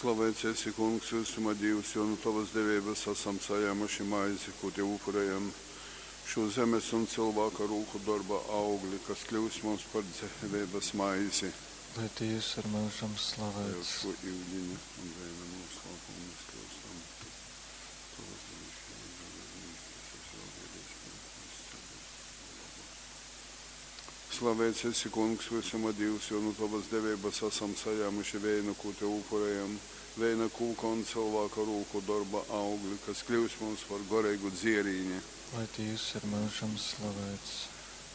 Slaveits esi, Kungs, vysuma Dīvs, jo nu tovas deveibas asam sajāmuši maizi, kū tev upurejam, šū zemes un cylvāka rūku dorba augli, kas kļyus mums par dzeiveibas maizi. Lai Dīvs ir myužam Tev slaveits. šo iudiņa un veina noslēpumu mēs kļūstam. Tavas dievišķības garīgais auglīgais Slaveits esi, Kungs, vysuma Dīvs, jo nu tovas deveibas asam sajāmuši veinu, kū tev upurejam, veina kūka un cylvāka rūku dorba augli, kas kļūs mums par goreigu dzierīni. Lai Dīvs ir myužam slaveits.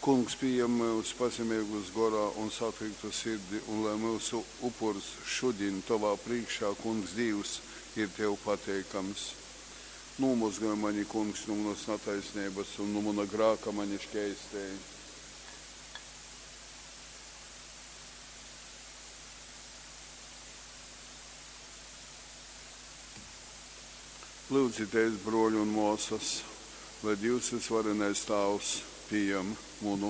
Kungs, pījem myus pazemeigus gorā un satriktu sirdi, un lai myusu upurs šudiņ tovā prīškā, Kungs Dīvs, ir tev pateikams. Nūmozgoj mani, Kungs, nu munas nataisneibas un nu muna grāka mani škeistej. Lyudzitēs, bruoļi un muosys, lai Dīvs vysvarenais Tāvs pījam munu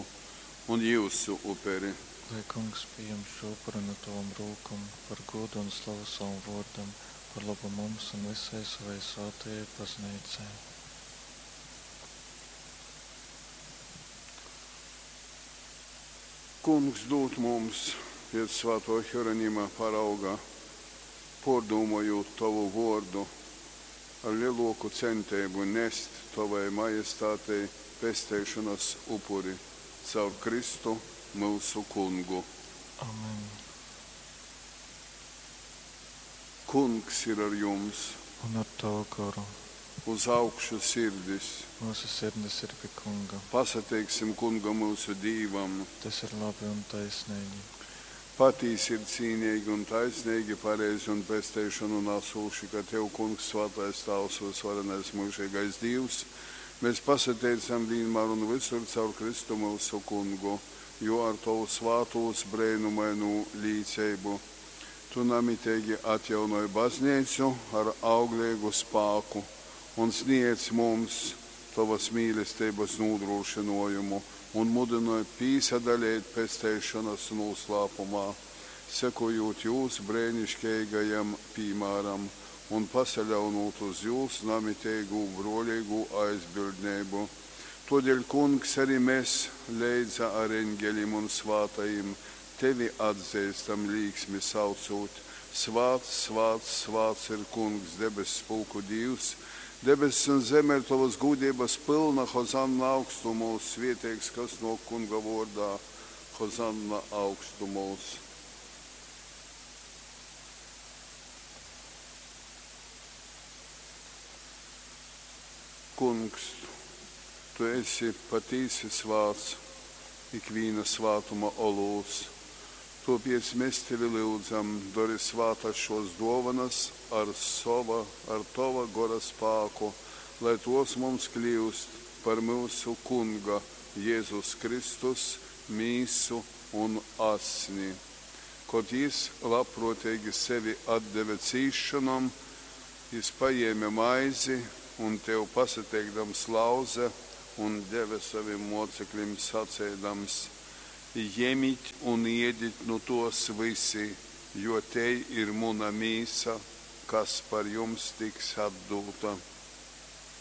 un jyusu uperi. Lai Kungs pījam šo upuri no tavam rūkom par godu un slavu savam vōrdam, par labu mums un visai savai svētajai baznīcai. Kungs dūd mums pēc svātō Hieronima parauga, pōrdūmojūt tovu vōrdu, ar lelōku centeibu nest tovai majestātei pesteišonas upuri. Caur Kristu, myusu Kungu. Amen. Kungs ir ar jums! Un ar tavu goru. Uz augšu sirdis! Myusu sirdis ir pi Kunga. Pasateiksim Kungam, myusu Dīvam! Tas ir labi un taisneigi. Patīsi ir cīneigi un taisneigi, pareizi un pesteišonu nasūši, ka tev, Kungs, svātais Tāvs, vysvarenais myužeigais Dīvs, mēs pasateicam vīnmār un vysur caur Kristu myusu Kungu, jo ar tovu svātūs breinumainū līceibu tu namiteigi atjaunoj bazneicu ar augleigu spāku un sniedz mums tovas mīlesteibas nūdrūšynōjumu un mudynoj pīsadaleit pesteišonas nūslāpumā, sekojūt jūs breiniškeigajam pīmāram un pasaļaunūt uz jūs namiteigū brōleigū aizbildneibu. Tōdēļ, Kungs, ari mes leidza ar eņgelim un svātajim tevi atzeistam, līksmi saucūt, Svāts, svāts, svāts ir Kungs, debesspulku Dīvs! Debess un zeme ir tovas gūdeibas pylna, hozanna augstumūs, svieteigs, kas nōk Kunga vōrdā, hozanna augstumūs. Kungs, tu esi patīsi svāts, ikvīna svātuma olūts. Tōpēc mes tevi lyudzam, dori svātas šōs dōvonas ar sova, ar tova Gora spāku, lai tōs mums kļyust par myusu Kunga Jezus Kristus mīsu un asni. Kod jys labprōteigi sevi atdeve cīsšonom, jys pajēme maizi un, tev pasateikdams, lauze un deve sovim mōceklim saceidams, Jemit un iedit nu tōs vysi, jo tei ir muna mīsa, kas par jums tiks atdūta.